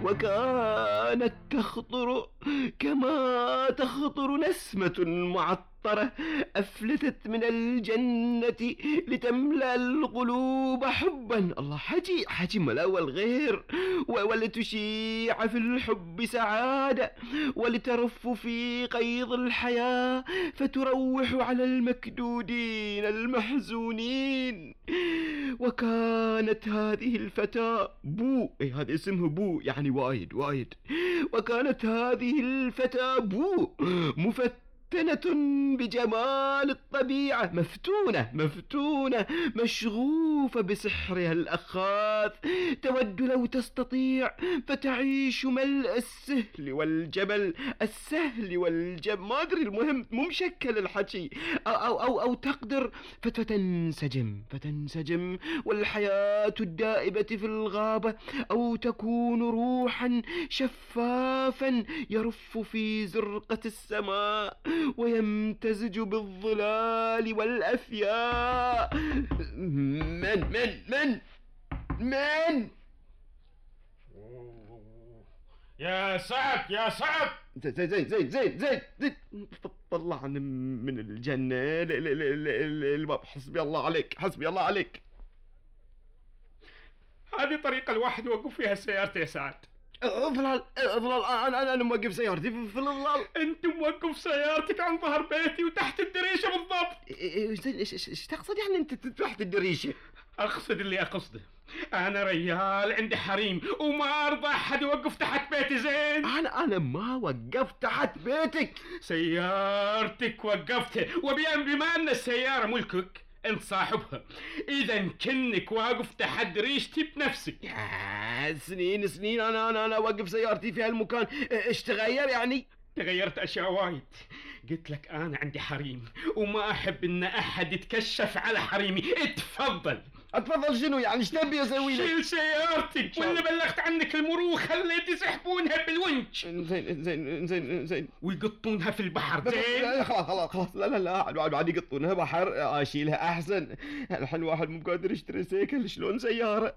وكانت تخطر كما تخطر نسمة معطرة أفلتت من الجنة لتملأ القلوب حبا. الله، حجي ملاوى الغير، ولتشيع في الحب سعادة، ولترف في قيض الحياة فتروح على المكدودين المحزونين. وكانت هذه الفتاة بو، هذا اسمه بو يعني وايد. وكانت هذه الفتاة بو مفتنة بجمال الطبيعة، مفتونة مشغوفة بسحرها الأخاذ، تود لو تستطيع فتعيش ملء السهل والجبل، ما أدري، المهم مو مشكل الحكي، أو تقدر فتنسجم والحياة الدائبة في الغابة، أو تكون روحا شفافا يرف في زرقة السماء ويمتزج بالظلال والأفياء. من يا سعد زين طلعني من الجنة. الباب. حسبي الله عليك. هذه طريقة الواحد يوقف فيها سيارته يا سعد. اظلال انا موقف سيارتي في الظلال. انت موقف سيارتك عن ظهر بيتي وتحت الدريشة بالضبط. ايش تقصد يعني انت تحت الدريشة؟ اقصد اللي اقصده، انا ريال عندي حريم وما ارضى احد يوقف تحت بيتي. زين، انا ما وقفت تحت بيتك، سيارتك وقفتها، بما ان السيارة ملكك انت صاحبها، اذا كنك واقف تحت دريشتي بنفسك. يا سنين انا واقف سيارتي في هالمكان. ايش تغير يعني؟ تغيرت اشياء وايد. قلت لك انا عندي حريم وما احب ان احد يتكشف على حريمي. اتفضل شنو يعني؟ ايش تبي اسوي لك؟ شيل سيارتك ولا بلغت عنك المروخه اللي يسحبونها بالونش. زين ويقطونها في البحر. زين خلاص لا بعد يقطونها بحر اشيلها احسن. الحين واحد مو قادر يشتري سيكل، شلون سيارة؟